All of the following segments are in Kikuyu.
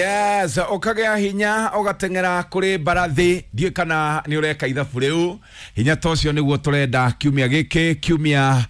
Yes, ũkagĩa hinya ũgateng'era kũrĩ mbarathi. Ndiũĩ kana nĩ ũreka ithabu rĩu. Hinya ta ũcio nĩguo tũrenda kiumia gĩkĩ, kiumia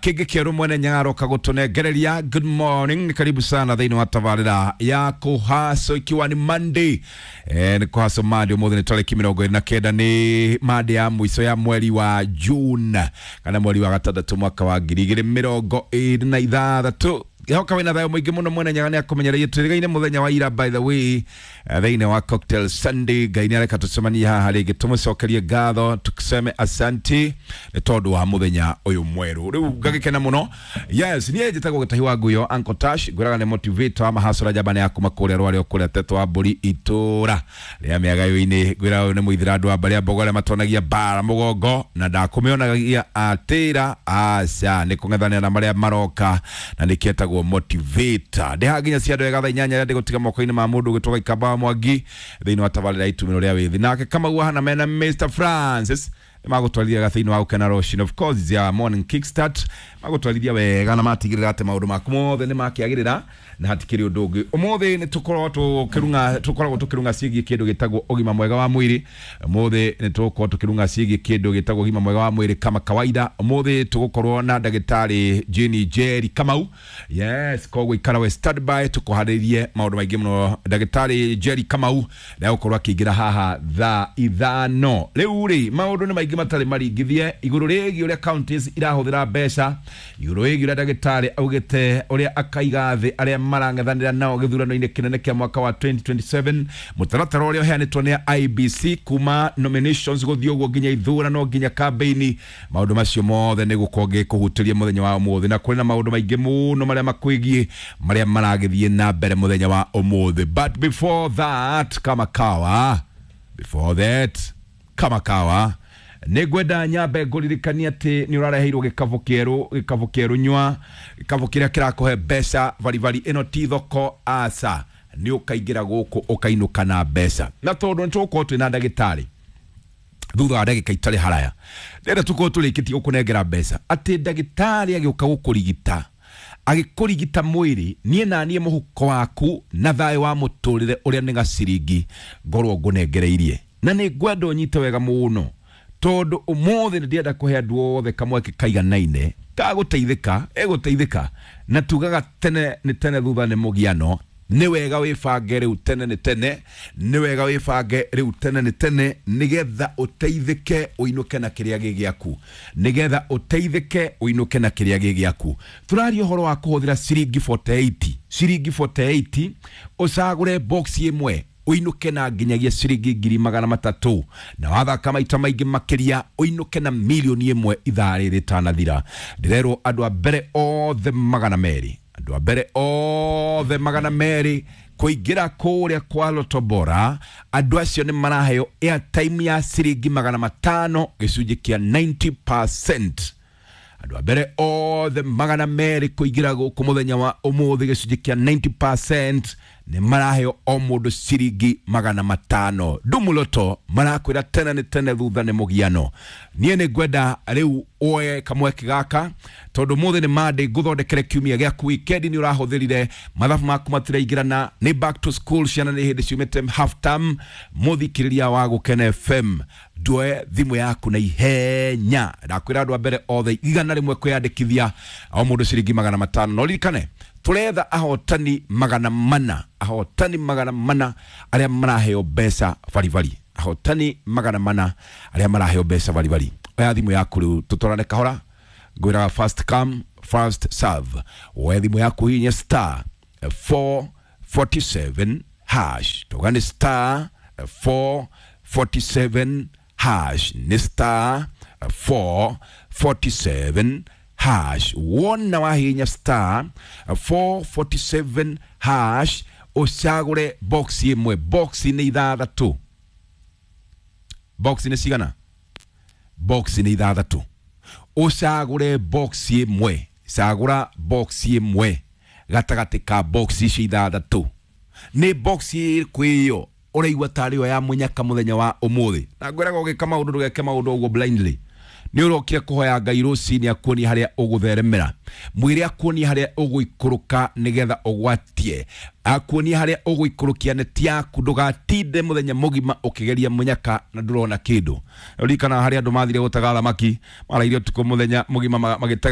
kĩngĩ kĩerũ mwene Nyaga aroka gũtũnengereria. Good morning, karibu sana thĩinĩ wa tabarĩra ya kũhaco, ikiwa ni Monday. Nĩ kũhaco Monday, ũmũthĩ nĩ tarĩki 29, nĩ Monday ya mũico ya mweri wa June kana mweri wa gatandatũ mwaka wa 2026. Hoka wĩna thayũ mũingĩ mũno. Mwene Nyaga nĩ akũmenyereire. Twĩrĩgaine mũthenya wa ira, by the way, thĩinĩ wa Cocktail Sunday. Ngai nĩ areka tũcemanie haha rĩngĩ, tũmũcokerie ngatho, tukiseme asanti nĩ tondũ wa mũthenya ũyũ mwerũ. Rĩu ngagĩkena mũno. Yes, niĩ njĩtagwo Gĩtahi wa Nguyo, Uncle Tash. Ngwĩraga nĩ motivator wa mahacũra, njamba ya kuma kũrĩa rwarĩ o kũrĩa tetwo wa mbũri itũra rĩa mĩagayo-inĩ. Ngwĩraga ũyũ nĩ mũithĩra andũ a mbarĩ ya mbogo arĩa matonagia mbara mũgongo na ndakũmĩonagia atĩra aca nĩ kũng'ethanĩra na marĩa maroka, na nĩkĩo etagwo motivator. Ndĩ haha nginya cia andũ ega thaa 8 rĩa ndĩgũtiga moko-inĩ ma mũndũ ũgĩtwo Gaikamba wa Mwangi thĩinĩ wa tabarĩra ya itumĩro rĩa wĩthĩ, nake Kamau hana mena Mr Francis nĩ magũtwarithia gathĩinĩ wa gũkena rũcinĩ. Of course, ya morning kickstart, magũtwarithia wega na matigĩrĩra atĩ maũndũ maku mothe nĩ makĩagĩrĩra na hatikĩrĩ ũndũ ũngĩ. Ũmũthĩ nĩ tũkoragwo tũkĩrung'a, tũkoragwo tũkĩrung'a ciĩgiĩ kĩndũ gĩtagwo ũgima mwega wa mwĩrĩ. Ũmũthĩ nĩ tũgũkorwo tũkĩrung'a ciĩgiĩ kĩndũ gĩtagwo ũgima mwega wa mwĩrĩ kama kawaida. Ũmũthĩ tũgũkorwo na ndagĩtarĩ Jane Njeri Kamau. Yes, koguo ikara we standby, tũkũharĩrie maũndũ maingĩ mũno. Ndagĩtarĩ Njeri Kamau nĩegũkorwo akĩingĩra haha thaa 5. Rĩu rĩ, maũndũ nĩ maingĩ matarĩ maringithie igũrũ rĩgiĩ ũrĩa counties irahũthĩra mbeca, igũrũ rĩgiĩ ũrĩa ndagĩtarĩ augĩte ũrĩa akaiga thĩ arĩa marang'ethanĩra nao gĩthurano-inĩ kĩnene kĩa mwaka wa 2027, mũtaratara ũrĩa ũheanĩtwo nĩ IEBC kuma nominations gũthiĩ ũguo nginya ithurano nginya campaign. Maũndũ macio mothe nĩ gũkorwo ngĩkũhutĩria mũthenya wa ũmũthĩ, na kũrĩ na maũndũ maingĩ mũno marĩa makwĩgiĩ marĩa maragĩthiĩ na mbere mũthenya wa ũmũthĩ. But before that, kama kawa, before that, kama kawa, nĩ ngwenda nyambe ngũririkania atĩ nĩ ũrareheirwo gĩkabũ kĩerũ, gĩkabũ kĩerũ nyua, gĩkabũ kĩrĩa kĩrakũhe mbeca baribari. Ĩno ti thoko, aca, nĩ ũkaingĩra gũkũ ũkainũka na mbeca. Na tondũ nĩ tũgũkorwo twĩna ndagĩtarĩ thutha wa ndagĩka itarĩ haraya, ndĩrenda tũkorwo tũrĩkĩtie gũkũnengera mbeca, atĩ ndagĩtarĩ agĩũka gũkũrigita, agĩkũrigita mwĩrĩ, niĩ na niĩ mũhuko waku na thayũ wa mũtũrĩre ũrĩa nĩ gaciringi ngorwo ngũnengereirie. Na nĩ ngwenda ũnyite wega mũno, tondũ ũmũthĩ nĩ ndĩrenda kũhe andũ othe kamweke kaiganaine ka gũteithĩka, ĩgũteithĩka. Na tugaga tene nĩ tene, thutha nĩ mũgiano. Nĩ wega wĩbange rĩu tene nĩ tene, nĩ wega wĩbange rĩu tene nĩ tene, nĩgetha ũteithĩke ũinũke na kĩrĩa gĩ gĩaku, nĩgetha ũteithĩke ũinũke na kĩrĩa gĩ gĩaku. Tũraria ũhoro wa kũhũthĩra ciringi 48, ciringi 48, ũcagũre box ĩmwe ũinũke na nginyagia ciringi 300,000, na wathaka maita maingĩ makĩria ũinũke na 1 million ithaa rĩrĩ rĩtanathira. Ndĩrerwo andũ a mbere othe 200, andũ a mbere othe 200 kũingĩra kũrĩa kwa Lotto Bora, andũ acio nĩ maraheo airtime ya ciringi 500, gĩcunjĩ kĩa 90%. Andũ a mbere othe 200 kũingĩra gũkũ mũthenya wa ũmũthĩ, gĩcunjĩ kĩa 90%, nĩ maraheo o mũndũ ciringi 500. Ndumuloto marakwĩra tene nĩ tene, thutha nĩ mũgiano. Niĩ nĩ ngwenda rĩu woe kamweke gaka, tondũ mũthĩ nĩ Monday, ngũthondekere kiumia gĩaku. Weekend nĩ ũrahũthĩrire mathabu maku matiraingĩrana, nĩ back to school, ciana nĩ hĩndĩ ciumĩte half term. Mũthikĩrĩria wa Gũkena FM, nduoe thimũ yaku na ihenya. Ndakwĩra andũ a mbere othe 100 kwĩyandĩkithia, o mũndũ ciringi 500. No ririkane tũretha ahotani 400, ahotani 400 arĩa maraheo mbeca baribari, ahotani 400 arĩa maraheo mbeca baribari. Oya thimũ yaku rĩu, tũtwarane kahora. Ngwĩraga first come, first serve. Woe thimũ yaku, hihinya star 447 hash. Tuga nĩ star 447 hash, nĩ star 447 hash. Wona wahihinya star 447 hash, ũcagũre box ĩmwe. Box nĩ ithathatũ. Box nĩ cigana? Box nĩ ithathatũ. Ũcagũre box ĩmwe, cagũra box ĩmwe gatagatĩ ka box icio ithathatũ. Nĩ box ĩrĩkũ ĩyo ũraigua tarĩ yo ya mũnyaka mũthenya wa ũmũthĩ? Na ngwĩraga ũgĩka maũndũ, ndũgeke maũndũ ũguo blindly. Nĩ ũrokire kũhoya Ngai rũcinĩ akuonie harĩa ũgũtheremera, mwĩre akuonie harĩa ũgũikũrũka nĩgetha ũgwatie, akuonie harĩa ũgũikũrũkia neti yaku, ndũgatinde mũthenya mũgima ũkĩgeria mũnyaka na ndũrona kĩndũ. Ririkana harĩa andũ mathire gũtega thamaki, maraire ũtukũ mũthenya mũgima magĩtega.